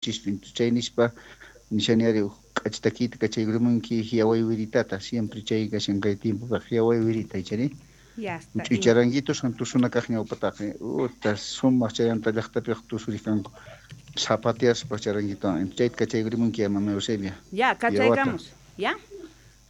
Chispi chay nispa nishani ari uj k'acha takiyta kachaykumunki Hiawaywiritata, siempre chay kashan kay tiempopaq Hiawaywirita ichari. Huch'uy charanguitos tusuna kaq ñawpataqa uta sumaq chayanta llaqtapiqa tusuriq kanku zapateaspa charanguitowan chayta kachaykurimunki ya mama Eusebia. Ya, kachaykamus. Ya.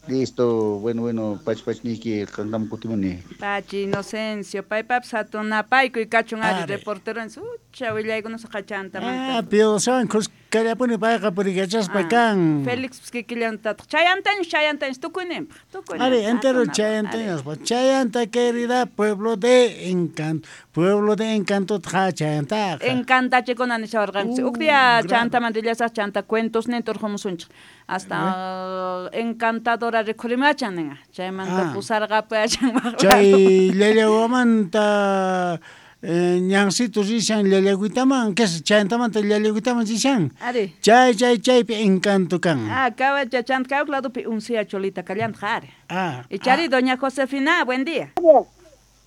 Listo, bueno, bueno, pach pach niyki, qanqam kutimuni. Pachi Inocencio, paypapis hatun napaykuy kachun ari reporteron sucha willaykunasqa chantamanta. Ah, Piosan khuskallapuni payqa purikachaspa kan. Felix kikillantataq chayantaños, chayantaños tukuyninpaq, tukuyninpaq. Ari, entero chayantaños, chayanta querida pueblo de encanto, pueblo de encanto tqa chayantaqa. Encantachikuna nishawarqanchis. Uk día chantamanta rillasaq chanta cuentosninta urqumusunchik. Hasta encantadora rikhurimachan ninqa. Chaymanta pusarqapayachan Chay Llallawamanta ñancito rishan Llallagüitaman, que es chayantamanta Llallagüitaman rishan. Ari. Chay, chay, chaypi encanto kan. Ah, kawacha chanta kawak ladopi uncia cholita kallanta ari. Ah. Ichari, doña Josefina, buen día.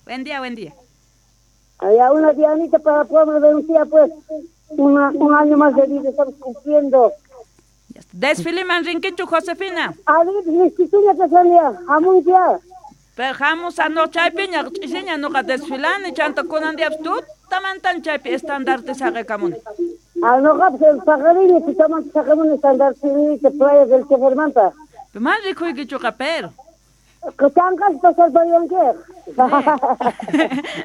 Buen día, buen día. Allá una Dianita para pueblo de Uncía, pues, un año más de vida estamos cumpliendo. Desfile man rinquichu, Josefina. A ver, mistituña que salía, jamuntia. Pero jamus a no chaypiña, chisiña noqa desfilani, chanta kunan diabs tutamantan chaypi estandarte saqekamuni. Ah, noqa pues el paqarini tutamanta saqemuni estandarte de playa del Chefermanta. Pero man rikuykichuqa, pero. Chanqas pasarpariwankiq.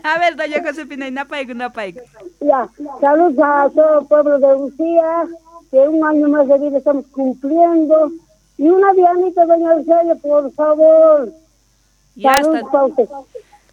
A ver, doña Josefina, napayku, napayku. Ya, saludos a todo el pueblo de Uncía, que un año más de vida estamos cumpliendo. Y una Dianita, doña Eusebia, por favor. Ya Salud está. pa' usted.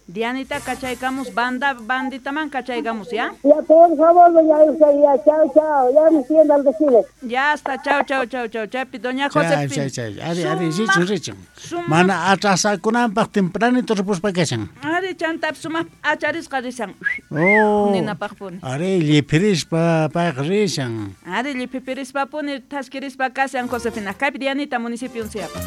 Dianita, cachaykamos, banda, bandita man, cachaykamos, ¿ya? Ya, por favor, doña Eusebia, chao, chao. Ya me siento al desfile. Ya está, chao, chao, chao, chao, chapi, doña Chay, Josefina. chay, chay. Ari, ari, richun, richun. Sumaq. Mana atrasakunanpaq tempranito ripuspa kashan. Ari, chantap, sumaq acharisqa rishan. Oh. Ninapaqpuni. Ari, lliphirispa payqa rishan. Ari, lliphipirispa puni, thaskirispa kashan, Josefina. Kaypi Dianita, municipio Unciapa.